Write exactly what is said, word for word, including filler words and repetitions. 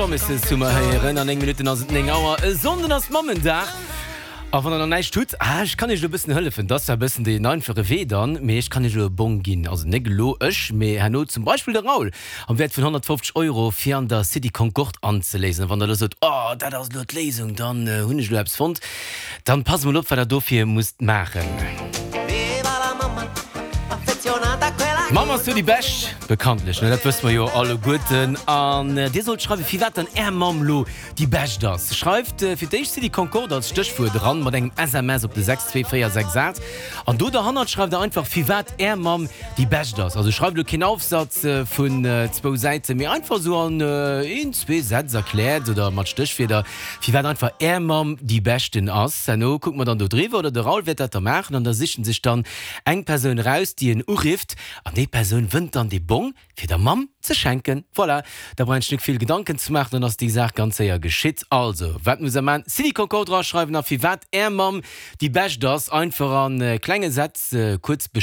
Promises hu mer héieren. An néng Minutten ass et néng Auer. E Sonnden ass Mammendag. A wann der nach näischt hutt, ah, ech kann iech elo e bëssen hëllefen. Dat ass zwar e bëssen deen einfache Wee dann, mee ech kann iech elo e Bong ginn. Also net elo ech, mee herno zum Beispill de Raoul am Wäert vun honnertfofzeg Euro fir an der City Concorde anzeléisen. A wann der elo sot, oh, dat ass elo d'Léisung, dann hunn ech elo eppes fonnt, dann passt emol op, wat der dofir musst maachen. D'Mamm ass jo déi Bescht, bekanntlech, ne? Dat wësse mer jo alleguerten. An Dir sollt schreiwen, firwat dann Är Mamm lo déi Bescht ass. Schreift fir d'éischt City Concorde als Stéchwuert eran, mat engem S M S op de sechs zwee véier sechs aacht. An do derhannert schreift Der einfach, firwat Är Mamm déi Bescht ass. Also schreift elo keen Aufsatz vun zwou Säiten, mee einfach esou an een, zwee Sätz erkläert oder mat Stéchwierder, firwat einfach Är Mamm déi Beschten ass. Herno kucke mer dann do driwwer, oder de Raoul wäert dat da maachen, an da sichen sech dann eng Persoun eraus, déi en urifft, an déi Persoun wënnt dann dee Bong fir der Mamm ze schenken. Voilà, da brauch een sech net vill Gedanken ze maachen, dann ass déi Saach ganz séier geschitt. Also, wat muss der maachen? City Concorde draschreiwen a firwat Är Mamm déi Bescht ass, einfach a klenge Sätz kuerz beschreiwen.